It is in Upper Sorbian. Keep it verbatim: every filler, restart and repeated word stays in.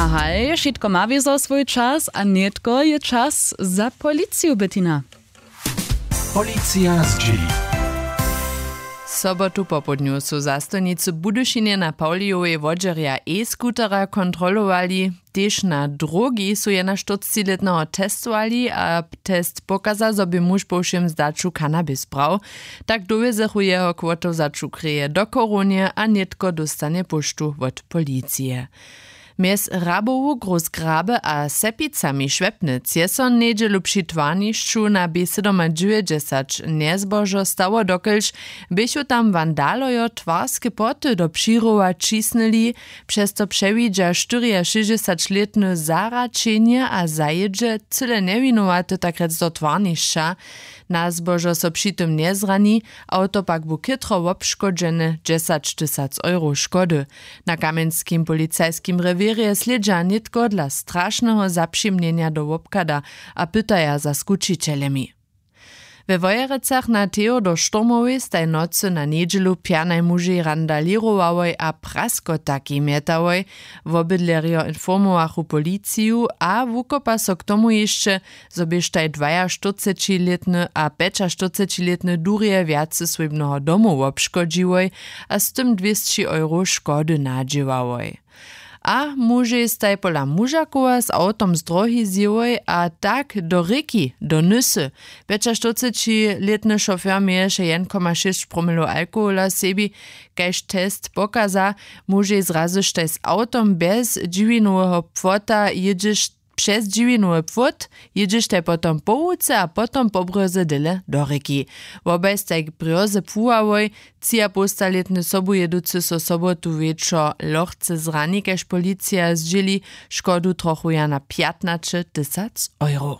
A haj, wšitko ma wězo swój čas a nětko je čas za policiju, Bettina. Policija zdźěli. Sobotu popołdnju su zastojnicy w Budyšinje na Pawlijowej wodźerja e-scootera kontrolowali. Tež na drogi su jenaštyrcciletneho testowali a test pokaza, zo bě muž po wšěm zdaću cannabis brał. Tak dowjezechu jeho k wotewzaću kreje do Chorownje a nětko dóstanje póštu wot policije. Mjez Hrabowu, Groß Grabe a Sepicami Šłepnyc je so njedźelu při twarnišću na B sydomadźewjećdźesać njezbožo stało, dokelž běchu tam wandalojo twarske płoty do přirowa ćisnyli. Přez to přewidźa štyriašěsćdźesaćlětny zaraćenje a zajědźe cyle njewinowaty tak rjec do twarnišća. Na zbožo so při tym njezrani, awto pak bu chětro wobškodźene, dźesaćtysac euro škody. Na kamjenskim policajskim rewěrje slědźa nětko dla strašneho zapřimnjenja do wobchada a pytaja za skućićeljemi. We Wojerecach na Theodor Štormowej staj nocy na njedźelu pjanaj mužej randalěrowałoj a praskotakej mjetałoj. Wobydlerjo informowachu policiju a wukopa so k tomu hišće, zo běštaj dwajaštyrcećilětny a pjećaštyrcećilětny durje wjace swójbneho domu wobškodźiłoj a z tym dwěsći euro škody nadźěłałoj. A mužej staj pola mužakowa z awtom z drohi zjěłoj a tak do rěki, do nysy. Pjećaštyrcećilětny šofer měješe jedn koma šěsć promilow alkohola w sebi. Kaž test pokaza, mužej zrazyštaj z awtom bjez dźiwinoweho płota jědźeš, přez dźiwinowy płot jědźeštaj potom po łuce a potom po brjoze dyle do rěki. Wobaj staj k brjoze płuwałoj. Třiapołstalětny sobujěducy so sobotu wječor lochce zrani, kaž policija zdźěli, škodu trochuja na pjatnaćetysac euro.